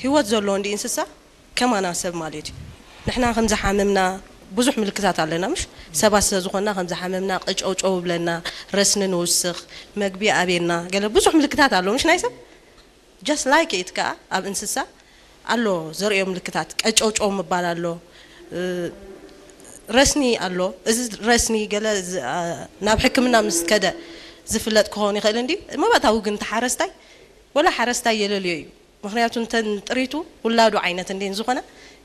ህይወት ዘለዎ እንዲ እንስሳ ከማና ሰብ ማለት እዩ። ንሕና ከም ዝሓመምና ብዙሕ ምልክታት ኣለና፣ ምሽ ሰባት ስለ ዝኾንና ከም ዝሓመምና፣ ቀጨውጨው ብለና፣ ረስኒ ንውስኽ፣ መግቢ ኣቤና፣ ገለ ብዙሕ ምልክታት ኣሎ፣ ምሽ ናይ ሰብ just like it ከኣ ኣብ እንስሳ ኣሎ ዘርእዮ ምልክታት፣ ቀጨውጨው ምባል ኣሎ፣ እ፣ ረስኒ ኣሎ። እዚ ረስኒ ገለ ዝ-፣ ኣ፣ ናብ ሕክምና ምስ ከደ ዝፍለጥ ክኸውን ይኽእል እንዲ፣ መባእታዊ ግን እቲ ሓረስታይ ወላ ሓረስታይ የለልዮ እዩ። ምኽንያቱ እንተን ጥሪቱ ውላዱ ዓይነት እንዴን ዝኾነ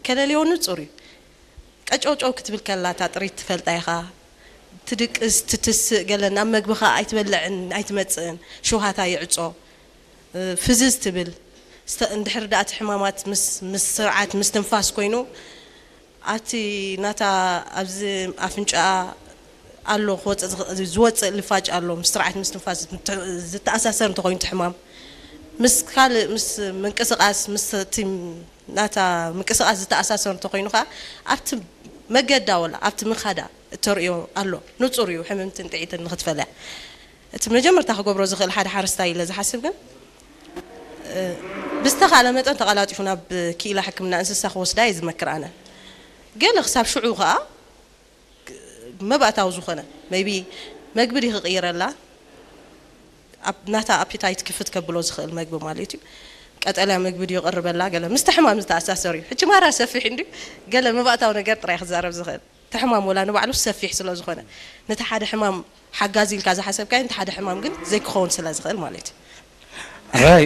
ከለልዮ ንጹር እዩ። ቀጨውጨው ክትብል ከላ እታ ጥሪት ትፈልጣ ኢኻ። ትድቅስ፣ ትትስእ፣ ገለ ናብ መግብኻ ኣይትበልዕን ኣይትመጽእን፣ ሽውሃታ ይዕጾ፣ እ፣ ፍዝዝ ትብል። ስተ-፣ እንድሕር ደኣ እቲ ሕማማት ምስ፣ ምስ ስርዓት፣ ምስ ትንፋስ ኮይኑ፣ ኣቲ ናታ ኣብዚ ኣፍንጫኣ ኣሎ ክወጽእ ዝኽ-፣ ዝወጽእ ልፋጭ ኣሎ፣ ምስ ስርዓት ምስ ትንፋስ ዝተ-፣ ዝተኣሳሰር እንተኾይኑ እቲ ሕማም፣ ምስ ካልእ፣ ምስ ምንቅስቓስ፣ ምስ እቲ ናታ ምንቅስቓስ ዝተኣሳሰር እንተኾይኑ ከኣ፣ ኣብቲ መገዳ ወላ ኣብቲ ምኻዳ እተርእዮ ኣሎ። ንጹር እዩ፣ ሕምምትን ጥዒትን ንኽትፈልያ። እቲ መጀመርታ ክገብሮ ዝኽእል ሓደ ሓረስታይ ኢለ ዝሓስብ ግን፣ እ፣ ብዝተኻእለ መጠን ተቐላጢፉ ናብ ክኢላ ሕክምና እንስሳ ክወስዳ እየ ዝመክር ኣነ። ገለ ክሳብ ሽዑ ከኣ መባእታዊ ዝኾነ፣ maybe መግቢ ድዩ ክቕይረላ፣ ኣብ ናታ ኣፒታይት ክፍት ከብሎ ዝኽእል መግቢ ማለት እዩ። ቀጠልያ መግቢ ድዩ ይቕርበላ፣ ገለ ምስቲ ሕማም ዝተኣሳሰር እዩ። ሕጂ ማራ ሰፊሕ እንድዩ፣ ገለ መባእታዊ ነገር ጥራይ ክዛረብ ዝኽእል። እቲ ሕማም ወላ ንባዕሉ ሰፊሕ ስለ ዝኾነ፣ ነቲ ሓደ ሕማም ሓጋዚ ኢልካ ዝሓሰብካዮ፣ ነቲ ሓደ ሕማም ግን ዘይክኸውን ስለ ዝኽእል ማለት እዩ። ራይ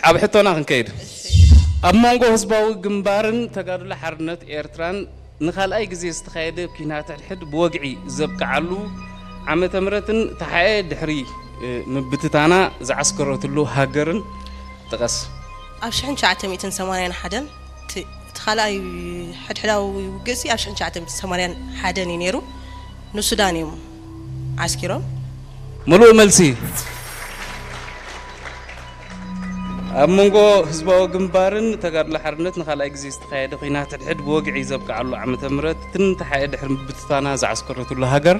ኣብ ሕቶና ክንከይድ። ኣብ መንጎ ህዝባዊ ግንባርን ተጋድሎ ሓርነት ኤርትራን ንኻልኣይ ግዜ ዝተኻየደ ኲናት ሕድሕድ ብወግዒ ዘብቅዓሉ ዓመተ ምህረትን ተሓኤ ድሕሪ፣ እ፣ ምብትታና ዝዓስከረትሉ ሃገርን ጥቐስ። ኣብ ሽሕን ትሽዓተ ሚእትን ሰማንያን ሓደን እቲ፣ እቲ ካልኣይ ሕድሕዳዊ ውግእሲ ኣብ ሽሕን ትሽዓተ ሚእትን ሰማንያን ሓደን እዩ ነይሩ። ንሱዳን እዮም ዓስኪሮም። ምሉእ መልሲ። ኣብ መንጎ ህዝባዊ ግንባርን ተጋድሎ ሓርነት ንኻልኣይ ግዜ ዝተኻየደ ኲናት ሕድሕድ ብወግዒ ዘብቅዓሉ ዓመተ ምህረትን ተሓኤ ድሕሪ ምብትታና ዝዓስከረትሉ ሃገር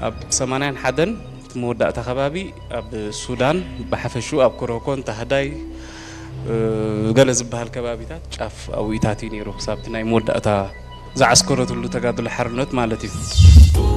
ኣብ ሰማንያን ሓደን እቲ መወዳእታ ከባቢ ኣብ ሱዳን ብሓፈሽኡ ኣብ ኮሮኮን ታህዳይ፣ እ፣ ገለ ዝበሃል ከባቢታት ጫፍ ኣብኡታት እዩ ነይሩ። ክሳብ እቲ ናይ መወዳእታ ዝዓስከረትሉ ተጋድሎ ሓርነት ማለት እዩ።